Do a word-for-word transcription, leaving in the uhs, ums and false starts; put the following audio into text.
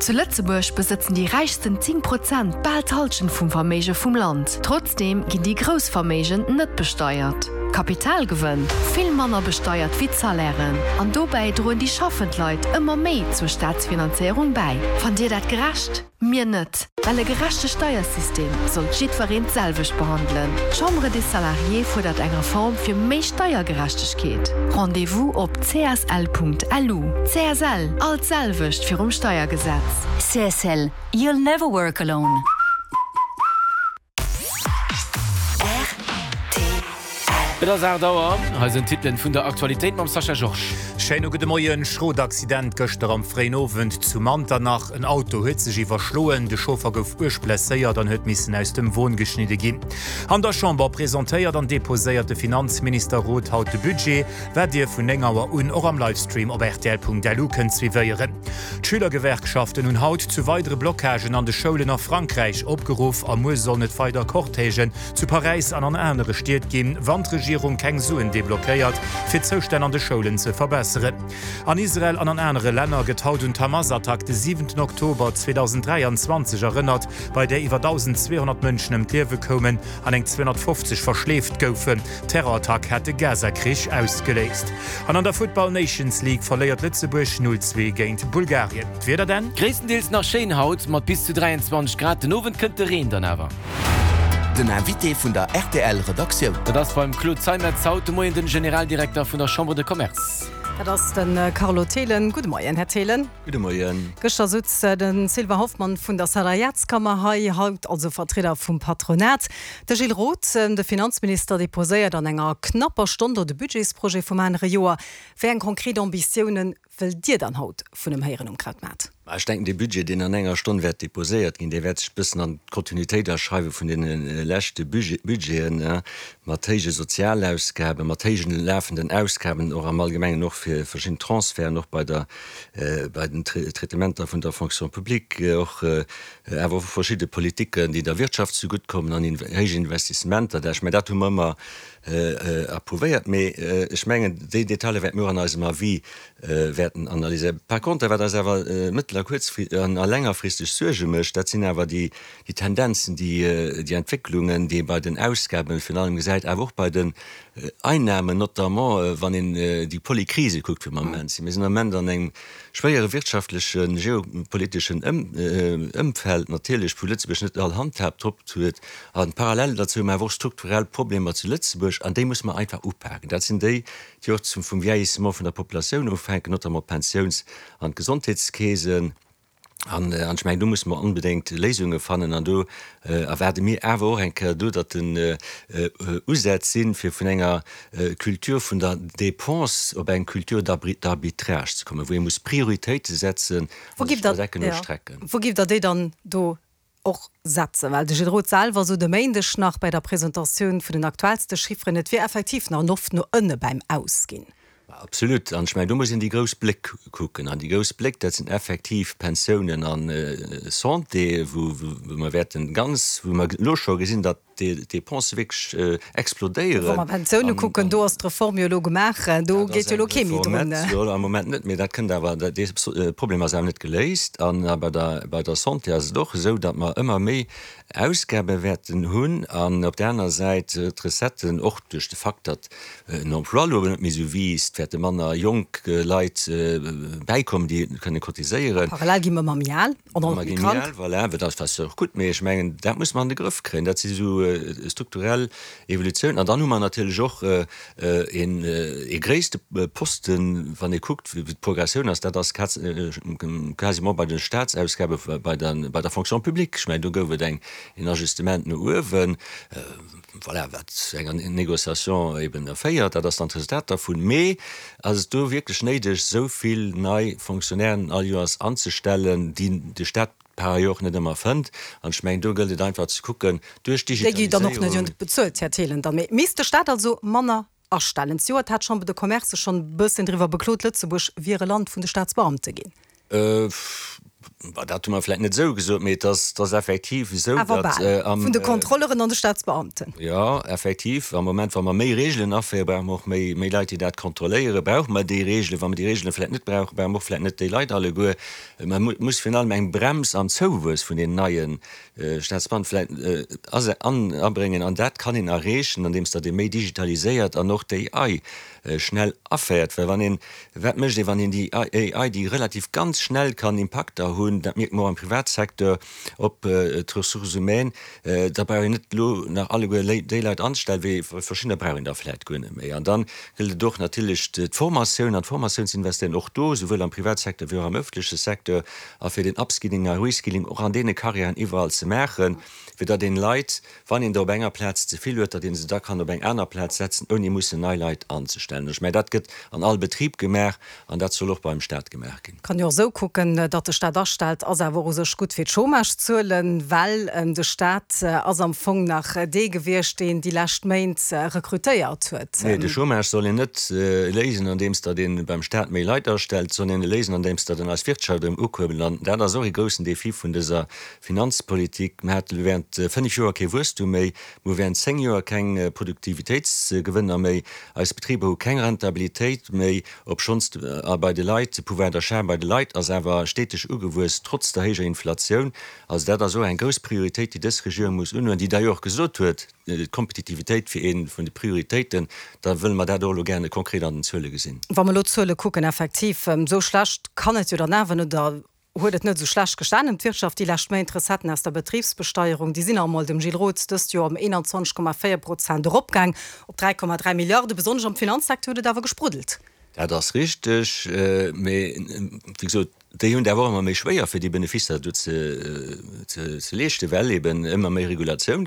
Zu Lëtzebuerg besëtzen déi räichsten zéng Prozent bal d'Hallschent vum Verméige vum Land. Trotzdeem ginn déi grouss Verméigen net besteiert. Kapitalgewënn vill manner besteiert wéi d'Salairen. An dobäi droen déi schaffend Leit ëmmer méi zur Staatsfinanzéierung bäi. Fannt Dir dat gerecht? Mir net. Well e gerechte Steiersystem sollt jiddwereen d'selwecht behandelen. D'Chambre des Salariés fuerdert eng Reform fir méi Steiergerechtegkeet. Rendez-vous op C S L Punkt L U. C S L, all d'selwecht virum Steiergesetz. C S L, you'll never work alone. Et ass aacht Auer, hei sinn d'Titelen vun der Aktualitéit mam Sascha Georges. Schéine gudde Moien. Schrot Accident gëschter am fréien Owend zu Manternach. En Auto huet sech iwwerschloen, de Chauffer gouf uerg blesséiert an huet missen aus dem Won geschnidde ginn. An der Chamber presentéiert an deposéiert de Finanzminister Roth haut de Budget, wat Dir vun néng Auer un och am Livestream op R T L Punkt L U kënnt suivéieren. D'Schülergewerkschaften hunn haut zu weidere Blockagen an de Schoulen a Frankräich opgeruff a muer sollen et weider Cortègen zu Paräis an an anere Stied ginn, wann d'Regierung keng Suen deblockéiert, fir d'Zoustänn an de Schoulen ze verbesseren. An Israel an an anere Länner gëtt haut un d'Hamas-Attack de siwenten Oktober zweedausend dräianzwanzeg erënnert, bei där iwwer dausendzweehonnert Mënschen ëm d'Liewe koumen an eng zweehonnertfofzeg verschleeft goufen. D'Terrorattack hat de Gaza-Krich ausgeléist. An an der Futtball Nations League verléiert Lëtzebuerg null zwee géint Bulgarien. D'Wieder dann? Gréisstendeels nach schéin haut mat bis zu dräianzwanzeg Grad, den Owend kënnt de Reen dann awer. Den Invité vun der R T L Redaktioun. Dat ass beim Claude Zeimetz haut de Moien den Generaldirekter vun der Chambre de Commerce. Dat ass de Carlo Thelen. Gudde Moien, Här Thelen. Gudde Moien. Gëschter souz de Sylvain Hoffmann vun der Salariatskammer hei, haut also Vertrieder vum Patronat. De Gilles Roth, de Finanzminister, deposéiert an enger knapper Stonn do de Budgetsprojet vum anere Joer. Wéi eng konkret Ambitiounen wëllt Dir dann haut vun him héieren um Krautmaart? Ech denken, de Budget, deen an enger Stonn wäert deposéiert ginn, dee wäert sech bëssen an d'Kontinuitéit aschreiwe vun deene leschte Budgeten, mat héije Sozialausgaben, mat héijen lafenden Ausgaben och am Allgemengen, och fir verschidden Transferten, och bei der bei den Traitementer vun der Fonction publique, och awer och verschidde Politiken, déi der Wirtschaft zegutt kommen an héich Investissementer. Ech mengen, dat hu mer ëmmer approuvéiert, mee ech mengen, déi Detailer wäerte mir och an eisem Avis wäerten analyséieren. Par contre, wat eis awer mëttel a kuerzfri an a längerfristeg Suerge mécht, dat sinn awer déi déi Tendenzen, déi déi Entwécklungen, déi ee bei den Ausgaben virun allem gesäit, awer och bei den Einnahmen, notamment wann een déi Polykrise kuckt, wou mer am Moment sinn. Mir sinn am Moment an engem schwéiere wirtschaftlechen, geopoliteschen Ëmfeld natierlech, wou Lëtzebuerg net all Handhab drop huet. A parallel dozou hu mer awer och strukturell Problemer zu Lëtzebuerg, an déi musse mer einfach upaken. Dat sinn déi, déi och zum vum Vieillissement vun der Populatioun ufänken, notamment d'Pensiouns an d'Gesondheetskeesen. An ech mengen, do musse mer onbedéngt Léisunge fannen. An do erwaarde mir awer och eng Kéier do, datt den Usätz sinn, fir vun enger Culture vun der Dépense op eng Culture d'arbitrage ze kommen, wou ee muss Prioritéite setzen an sech iwwer Ecken strecken. Wou giff Der déi dann do och setzen? Well de Gilles Roth selwer sot e Méindeg nach bei der Presentatioun vun den aktuellste Chifferen, et wier effektiv nach Loft no ënne beim Ausginn. Absolut. An ech mengen, do muss een déi grouss Bléck kucken. An déi grouss Bléck, dat sinn effektiv Pensiounen a Santé, wou mer wäerten ganz, wou mer elo scho gesinn, datt d'Dépensë wierklech explodéieren. Wa mer Pensioune kucken, do ass d'Reform jo elo gemaach, do geet jo elo kee méi drun. Jo, am Moment net, mee dat kënnt awer, dee Problem ass awer net geléist. An bei der, bei der Santé ass et och esou, datt mer ëmmer méi Ausgabe wäerten hunn an op där aner Säit d'Recetten, och duerch de Fakt, datt den Emploi elo net méi esou wiisst, wäerte manner jonk Leit bäikommen, déi kënne cotiséieren. Parallel gi mer ëmmer méi al an och méi krank. Voilà, dat ass och gutt, mee ech mengen, dat muss mer an de Grëff kréien. Dat si sou strukturell Evolutiounen. An dann hu mer natierlech och een ee gréisste Posten, wann ee kuckt, wéi d'Progressioun ass, dat ass quasiment bei de Staatsausgabe bei der bei der Fonction publique. Ech mengen, do gouf et eng een Ajustement no uewen, voilà, wat zu enger Négociation eben erféiert, dat ass dann d'Resultat dervun. Mee ass et do wierklech néideg, esou vill nei Fonctionnairen all Joers anzestellen, déi de Staat par ailleurs och net ëmmer fënnt? An ech mengen, do gëllt et einfach ze kucken, duerch Déi gi dann och net Digitaliséierung. bezuelt, Här Thelen. Dann misst de Staat also manner astellen. Zejoert hat d'Chambre de Commerce sech schonn e bëssen driwwer beklot, Lëtzebuerg wier e Land vun de Staatsbeamte ginn. Dat hu mer vläicht net esou gesot, mee et ass, et ass effektiv esou, Awer datt bal. am. Vun de Kontrolleuren an de Staatsbeamten. Jo, effektiv. Am Moment, wa mer méi Reegelen aféieren, brauche mer och méi, méi Leit, déi dat kontrolléieren. Brauche mer déi Reegelen? Wa mer déi Reegele vläicht net brauchen, brauche mer och vläicht net déi Leit alleguer. Mä et muss virun allem eng Brems am Zouwuess vun den neie Staatsbeamten vläicht abréngen. An dat kann een erreechen, andeems datt ee méi digitaliséiert an och d'AI schnell aféiert. Well wann een, wat mécht ee wann een déi A I, déi relativ ganz schnell kann Impakter hunn, dat mierkt mer och am Privatsecteur, op d'Ressources humaines, da brauch een net elo nach alleguer déi Leit anzestellen, wéi verschiddener brauch een der vläicht guer net méi. An da gëllt et och natierlech d'Formatioun, an d'Formatioun ze investéieren, och do, souwuel am Privatsecteur wéi och am ëffentleche Secteur, a fir den Upskilling a Reskilling och an deene Carrièren iwwerall ze maachen, fir datt een Leit, wann een der op enger Plaz ze vill huet, datt ee se da kann op eng aner Plaz setzen, ouni mussen nei Leit anzestellen. Ech mengen, dat gëtt an all Betrib gemaach an dat soll och beim Staat gemaach ginn. Kann jo och esou kucken, datt de Staat astellt, ass awer och u sech gutt fir d'Chômagezuelen, well de Staat ass am Fong nach dee gewiescht, deen déi lescht Méint rekrutéiert huet. Nee, de Chômage soll een net léisen, andeems datt ee beim Staat méi Leit astellt, soll een e léisen, andeems datt een eis Wirtschaft erëm ukuerbelt. An dat ass och e groussen Défi vun dëser Finanzpolitik. Mir hate während fënnef Joer kee Wuesstum méi, mir hu während zéng Joer keng Produktivitéitsgewënner méi, eis Betriber hu keng Rentabilitéit méi, obschonns bei de Leit, de Pouvoir d'achat bei de Leit ass awer steteg ugewuess, trotz der héijer Inflatioun. Also dat ass och eng grouss Prioritéit, déi dës Regierung muss unhuelen, déi d'ailleurs och gesot huet, d'Kompetitivitéit wier ee vun de Prioritéiten. Da wëlle mer dat och elo gerne konkret an den Zuele gesinn. Wa mer elo d'Zuele kucken, effektiv, esou schlecht kann et jo dann awer net, oder huet et net esou schlecht gestanen ëm d'Wirtschaft déi lescht Méint. D'Recetten aus der Betribsbesteierung, déi sinn nach emol dem Gilles Roth dëst Joer ëm eenanzwanzeg Komma véier Prozent eropgaang op dräi Komma dräi Milliarden. Besonnesch am Finanzsecteur huet et awer gespruddelt. Dat ass richteg, mee wéi gesot, déi hunn et awer och ëmmer méi schwéier, fir déi Beneficer do ze leeschten, well eben ëmmer méi Regulatioun